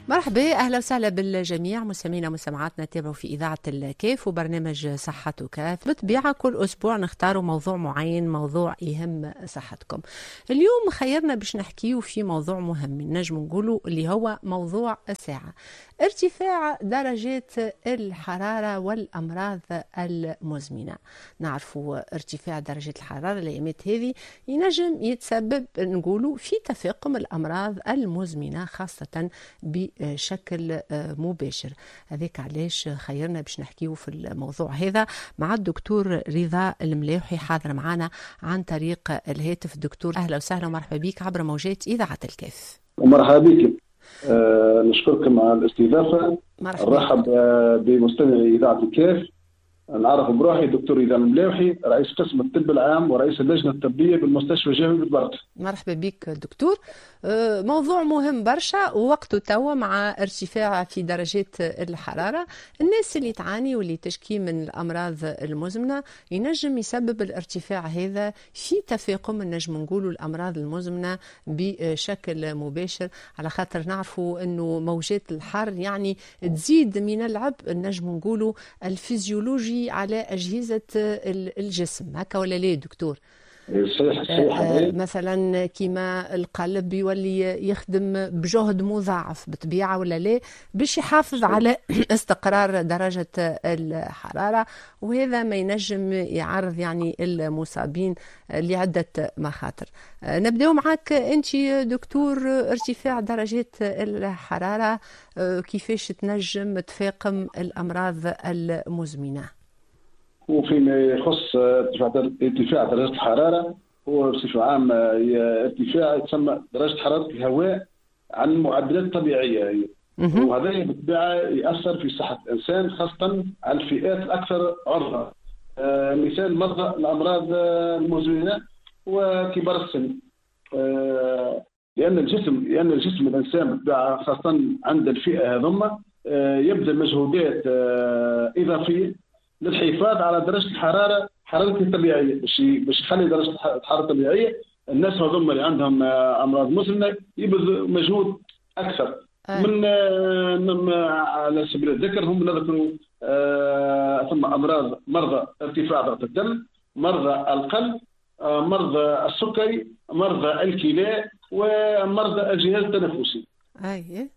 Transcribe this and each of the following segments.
مرحبا، اهلا وسهلا بالجميع مستمعينا ومستمعاتنا، تابعوا في اذاعة الكاف وبرنامج صحتك. بالطبيعة كل اسبوع نختاروا موضوع معين، موضوع يهم صحتكم. اليوم خيرنا باش نحكيو في موضوع مهم نجم نقولوا اللي هو موضوع الساعه، ارتفاع درجات الحرارة والامراض المزمنه. نعرفوا ارتفاع درجات الحرارة الايامات هذه ينجم يتسبب نقولوا في تفاقم الامراض المزمنة خاصة بشكل مباشر. هذاك علاش خيرنا باش نحكيو في الموضوع هذا مع الدكتور رضا الملاوحي، حاضر معنا عن طريق الهاتف. الدكتور اهلا وسهلا ومرحبا بك عبر موجات اذاعة الكاف. ومرحبا بك، نشكركم على الاستضافه. مرحبا. نرحب بمستمعي اذاعة الكاف. نعرف بروحي دكتور رضا الملاوحي، رئيس قسم الطب العام ورئيس اللجنة الطبية بالمستشفى الجامعي بطبرقة. مرحبا بك دكتور. موضوع مهم برشا ووقته توا مع ارتفاع في درجات الحرارة، الناس اللي تعاني واللي تشكي من الأمراض المزمنة ينجم يسبب الارتفاع هذا في تفاقم نجم نقولوا الأمراض المزمنة بشكل مباشر، على خاطر نعرفوا أنه موجات الحر يعني تزيد من العبء نجم نقولوا الفيزيولوجي على أجهزة الجسم، هكا ولا لا دكتور؟ صحيح صحيح. مثلا كيما القلب يولي يخدم بجهد مضاعف بطبيعة ولا لا باش يحافظ على استقرار درجة الحرارة، وهذا ما ينجم يعرض يعني المصابين لعدة مخاطر. نبدأ معك أنت دكتور، ارتفاع درجات الحرارة كيفاش تنجم تفاقم الأمراض المزمنة؟ وفيما يخص ارتفاع درجة الحرارة، هو بصفة عامة ارتفاع يتسمى درجة حرارة الهواء عن المعدلات الطبيعية هي. وهذا بالطبيعة يأثر في صحة الإنسان، خاصة على الفئات الأكثر عرضة، مثال مرضى الأمراض المزمنة وكبار السن، لأن الجسم الإنسان بالطبيعة خاصة عند الفئة هذوما يبذل مجهودات إضافية للحفاظ على درجة الحرارة حرارته الطبيعية، باش يخلي درجة الحرارة الطبيعية. الناس هذوما اللي عندهم أمراض مزمنة يبذلوا مجهود أكثر. من على سبيل الذكر هم نذكروا ثم أمراض مرضى ارتفاع ضغط الدم، مرضى القلب، مرضى السكري، مرضى الكلى، ومرضى الجهاز التنفسي. أي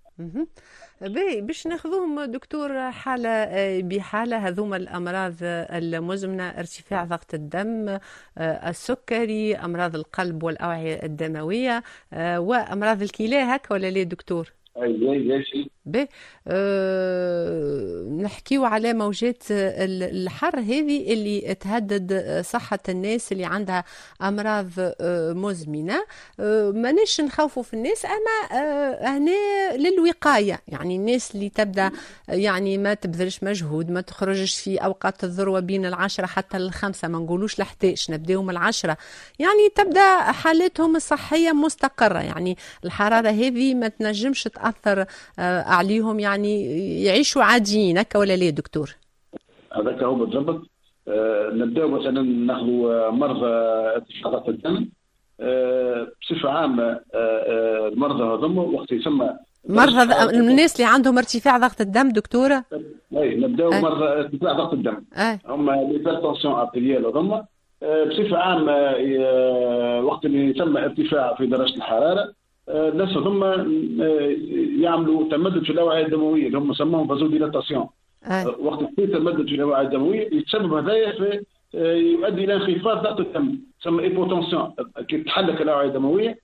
باهي، باش ناخذوهم دكتور حالة بحالة، هذوما الأمراض المزمنة، ارتفاع ضغط الدم، السكري، أمراض القلب والأوعية الدموية، وأمراض الكلى، هكا ولا لا دكتور؟ اي. باهي، نحكيو على موجات الحر هذه اللي تهدد صحة الناس اللي عندها أمراض مزمنة. ماناش نخوفوا في الناس، أما هنا للوقاية، يعني الناس اللي تبدأ يعني ما تبذلش مجهود، ما تخرجش في أوقات الذروة بين 10 حتى 5، ما نقولوش 11، نبداو من 10، يعني تبدأ حالتهم الصحية مستقرة، يعني الحرارة هذه ما تنجمش تأثر عليهم، يعني يعيشوا عاديين، هكا ولا لا دكتور؟ هذاك هو بالضبط. نبداو مثلا ناخذوا مرضى ارتفاع ضغط الدم. بصفة عامة المرضى هذوما وقت يسمى مرضى الناس اللي عندهم ارتفاع ضغط الدم دكتورة؟ اي، نبداو مرضى ارتفاع ضغط الدم. هما l'hypertension artérielle هذوما. بصفة عامة وقت اللي يتم ارتفاع في درجه الحرارة، الناس هذوما يعملوا تمدد في الاوعية الدموية اللي هم سموهم vasodilatation. وقت يصير تمدد في الاوعية الدموية يتسبب هذايا في يؤدي الى انخفاض ضغط الدم، تسمى hypotension. كي تحلك الاوعية الدموية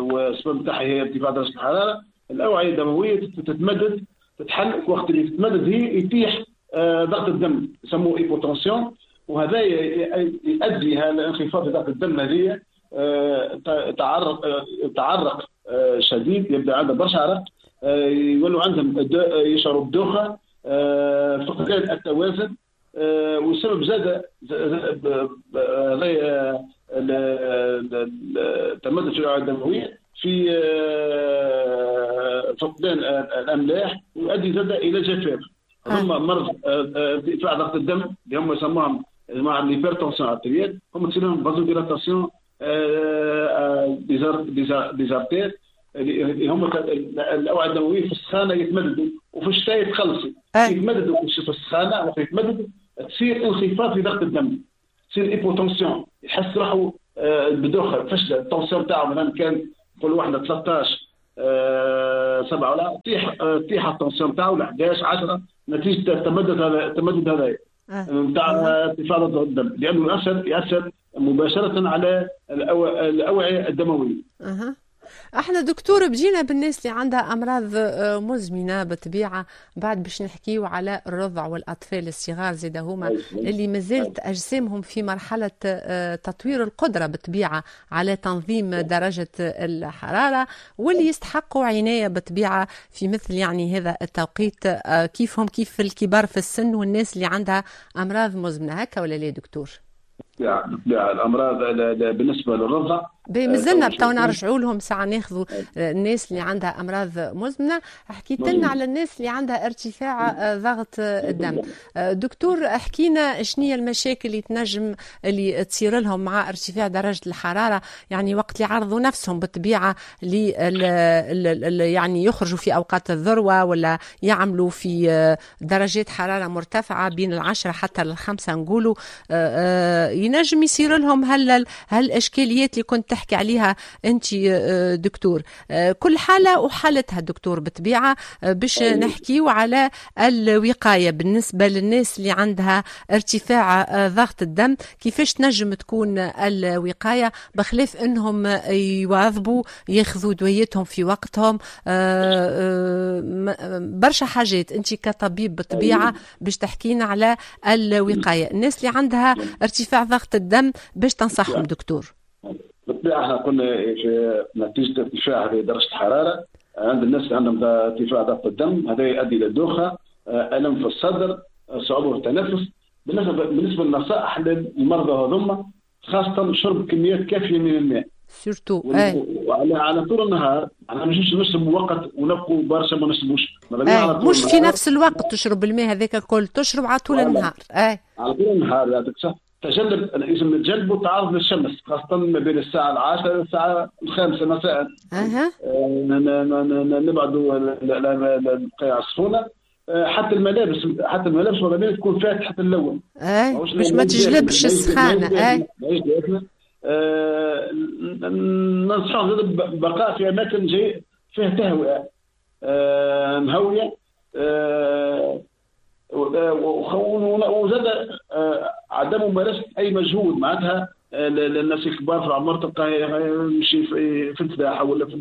والسبب نتاعها هي ارتفاع درجه الحرارة، الاوعية الدموية تتمدد تتحل، وقت اللي تتمدد هي يتيح ضغط الدم، يسموه hypotension. وهذا يؤدي هذا انخفاض ضغط الدم هذه تعرق شديد، يبدا عندهم برشا عرق، يولوا عندهم يشعروا بدوخه، فقدان التوازن، والسبب زاد هذا التمدد في الاوعية الدموية في فقدان الاملاح، ويؤدي زاد الى جفاف. ثم مرض ارتفاع ضغط الدم اللي هم يسموهم جماعة l'hypertension artérielle، هم تصير لهم vasodilatation des artères. اللي هم الاوعية الدموية في السخانه يتمددوا وفي الشتاء يتخلصوا. يتمددوا في السخانه، وقت يتمددوا تصير انخفاض في ضغط الدم، تصير hypotension، يحس روحه بدوخه، فشله. ال tension تاعو مثلا كان نقولوا احنا 13 7 ولا تطيح ال tension تاعو ل 11 10 نتيجة التمدد هذا نتاع ارتفاع ضغط الدم، لانه ياثر مباشرة على الاوعية الدموية. احنا دكتور بجينا بالناس اللي عندها امراض مزمنة بالطبيعة، بعد باش نحكيو على الرضع والاطفال الصغار زيدا هما اللي مازالت اجسامهم في مرحلة تطوير القدرة بالطبيعة على تنظيم درجه الحرارة، واللي يستحقوا عناية بالطبيعة في مثل يعني هذا التوقيت، كيفهم كيف الكبار في السن والناس اللي عندها امراض مزمنة. هكا ولا لا دكتور؟ لا، الامراض بالنسبة للرضع مازلنا بتو نرجعوا لهم ساعة، ناخذوا الناس اللي عندها امراض مزمنة. حكيت لنا على الناس اللي عندها ارتفاع ضغط الدم. دكتور احكينا شنو هي المشاكل اللي تنجم اللي تصير لهم مع ارتفاع درجه الحرارة، يعني وقت اللي عرضوا نفسهم بالطبيعة يعني يخرجوا في اوقات الذروة ولا يعملوا في درجات حرارة مرتفعة بين 10 حتى 5 نقولوا، ينجم يصير لهم هالاشكاليات اللي كنت تحكي عليها انت دكتور. كل حاله وحالتها دكتور بالطبيعة، باش نحكيو على الوقاية بالنسبة للناس اللي عندها ارتفاع ضغط الدم، كيفاش تنجم تكون الوقاية بخلاف انهم يواظبوا ياخذوا دويتهم في وقتهم، برشا حاجات انت كطبيب بالطبيعة باش تحكينا على الوقاية. الناس اللي عندها ارتفاع ضغط الدم باش تنصحهم دكتور؟ بالطبيعة احنا قلنا في نتيجة ارتفاع هذه درجه الحرارة عند الناس اللي عندهم ارتفاع ضغط الدم، هذا يؤدي الى دوخه، الم في الصدر، صعوبة في التنفس. بالنسبة للنصائح للمرضى هذوما، خاصة شرب كميات كافيه من الماء surtout على طول النهار. احنا مش نشرب وقت ونبقوا برشا ما نشربوش، مش في نفس الوقت تشرب الماء هذاك الكل، تشرب على طول النهار. على طول النهار يعطيك صح. تجنب، لازم نتجنبوا التعرض للشمس، خاصة ما بين الساعة 10 والساعة 5 مساء. نبعدوا البقايا السخونة، حتى الملابس، ماذا تكون فاتحة اللون باش ما تجلبش السخانة. ننصحهم بالبقاء في أماكن فيها تهوئة مهوية، وزاد عدم ممارسة اي مجهود. معناتها الناس الكبار في العمر تلقى يمشي في الفلاحة ولا في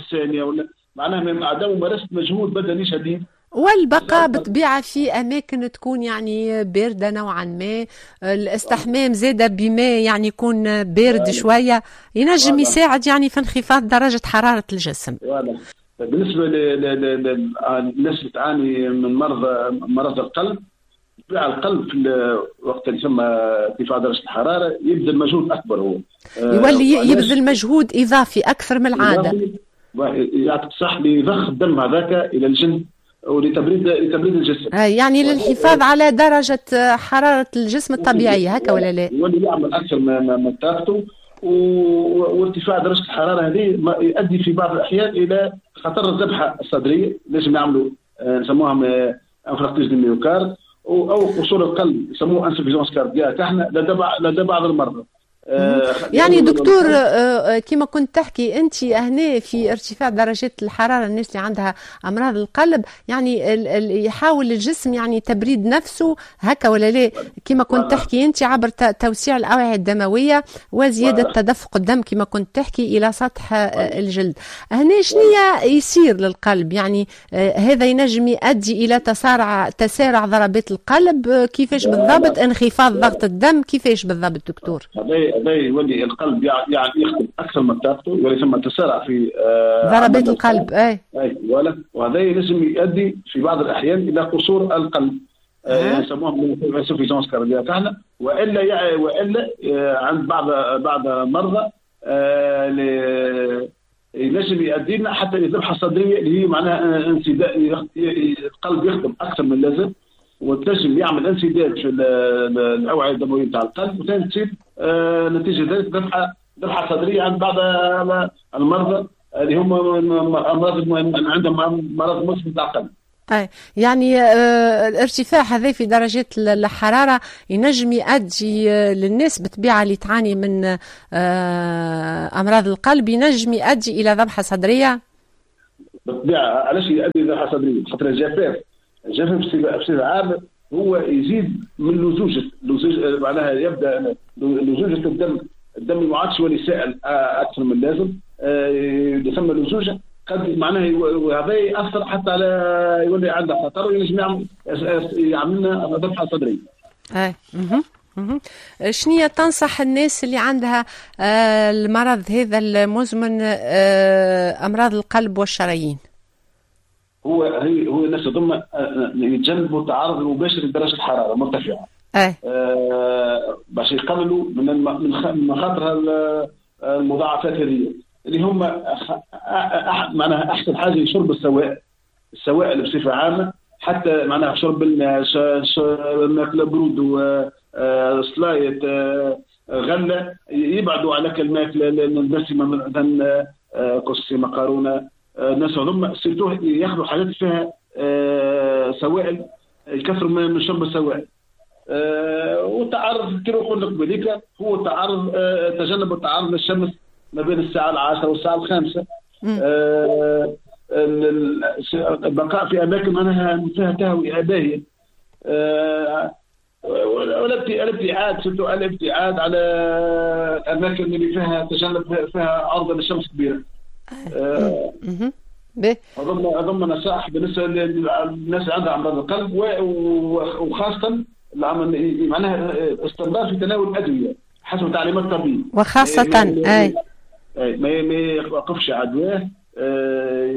الثانية، ولا معناها عدم ممارسة مجهود بدني شديد، والبقاء بالطبيعة في اماكن تكون يعني باردة نوعا ما. الاستحمام زاده بماء يعني يكون بارد شوية، ينجم يساعد يعني في انخفاض درجه حرارة الجسم. بالنسبة للناس اللي تعاني من مرض القلب، القلب في وقت اللي ثم ارتفاع درجه الحرارة يبذل مجهود اكبر، هو يولي يبذل مجهود اضافي اكثر من العادة، يعطيك صح، لضخ الدم هذاك الى الجلد ولتبريد الجسم، يعني للحفاظ على درجه حرارة الجسم الطبيعية. هكا ولا لا؟ يولي يعمل اكثر من طاقته، وارتفاع درجه الحرارة هذه يؤدي في بعض الاحيان الى خطر الذبحة الصدرية، لازم يعملوا نسموها infarctus du myocarde، او قصور القلب يسموه insuffisance cardiaque احنا لدى بعض المرضى. يعني دكتور كما كنت تحكي انت هنا في ارتفاع درجات الحرارة الناس اللي عندها امراض القلب يعني يحاول الجسم يعني تبريد نفسه هكا ولا لا؟ كما كنت تحكي انت عبر توسيع الاوعية الدموية وزيادة تدفق الدم كما كنت تحكي الى سطح الجلد. هنا شنو يصير للقلب؟ يعني هذا ينجم يؤدي الى تسارع ضربات القلب، كيفاش بالضبط؟ انخفاض ضغط الدم كيفاش بالضبط دكتور؟ هذا يولي القلب يعني يخدم اكثر من طاقته، يولي ثم تسارع في ضربات القلب. اي ولا، وهذا لازم يؤدي في بعض الاحيان الى قصور القلب، يسموه insuffisance cardiaque احنا، والا عند بعض المرضى ينجم يؤدي لنا حتى الذبحة الصدرية اللي هي معناها انسداد، القلب يخدم اكثر من اللازم وتنجم يعمل انسداد في الاوعية الدموية نتاع القلب، وثاني تصير نتيجة ذلك ذبحه صدريه عند بعض المرضى اللي هم امراض عندهم مرض مزمن تاع القلب. أي يعني الارتفاع هذا في درجات الحرارة ينجم يؤدي للناس بالطبيعة اللي تعاني من أمراض القلب، ينجم يؤدي إلى ذبحة صدرية؟ بالطبيعة. علاش يؤدي إلى ذبحة صدرية؟ خاطر الجفاف بصفة عامة هو يزيد من لزوجة، معناها يبدأ لزوجة الدم ما عادش يولي سائل أكثر من اللازم، يسمى لزوجة، قد معناها وهذا ياثر حتى على يولي عنده خطر وينجم يعمل لنا ذبحه صدريه. اي شنو تنصح الناس اللي عندها المرض هذا المزمن، امراض القلب والشرايين؟ هو الناس هذوما يتجنبوا التعرض المباشر لدرجة الحرارة المرتفعة. اي باش يقللوا من مخاطر المضاعفات هذه اللي هم معناها احسن حاجة شرب السوائل بصفة عامة، حتى معناها شرب الماكلة برود وسلايط غله، يبعدوا على الماكلة الدسمة مثلا كسكسي مقارونه. الناس هذوما surtout ياخذوا حاجات فيها سوائل، يكثروا من شرب السوائل. والتعرض كما قلنا قبليك هو تعرض تجنب التعرض للشمس ما بين الساعة 10 والساعة 5. البقاء في أماكن معناها فيها تهوية باهية. والابتعاد surtout الابتعاد على الأماكن اللي فيها تجنب فيها عرضة للشمس كبيرة. أظن نصائح بالنسبة للناس اللي عندها أمراض القلب، وخاصة معناها استمرار في تناول الأدوية حسب تعليمات الطبيب. وخاصة أي ما يوقفش على دواه،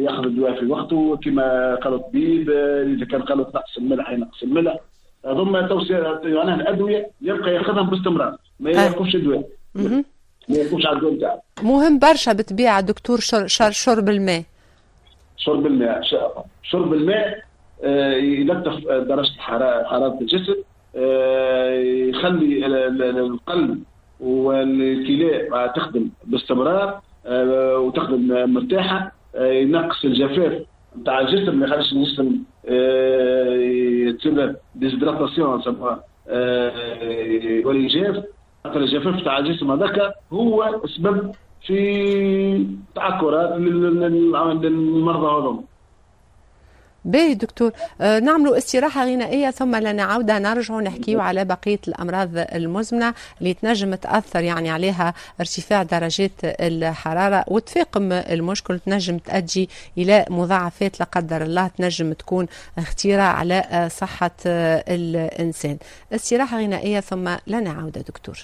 ياخذ الدواء في وقته كما قال الطبيب. اذا كان قالوا نقص الملح ينقص الملح. هذوما توصية معناها الادوية يبقى ياخذهم باستمرار، ما يوقفش الدواء، ما يوقفش على الدواء نتاعو. مهم برشا بالطبيعة دكتور شرب الماء. شرب الماء يلطف درجه حرارة الجسم، يخلي القلب والكلى تخدم باستمرار وتخدم مرتاحة، ينقص الجفاف نتاع الجسم، ما يخليش الجسم تصير déshydratation نسموها، يولي جاف. خاطر الجفاف تاع الجسم هذاك هو سبب في تعكرات للمرضى هذوما. باهي دكتور، نعملوا استراحة غنائية ثم لنعود نرجع نحكيو على بقية الأمراض المزمنة اللي تنجم تأثر يعني عليها ارتفاع درجات الحرارة وتفاقم المشكل، تنجم تؤدي إلى مضاعفات لا قدر الله تنجم تكون خطيرة على صحة الإنسان. استراحة غنائية ثم لنعود دكتور.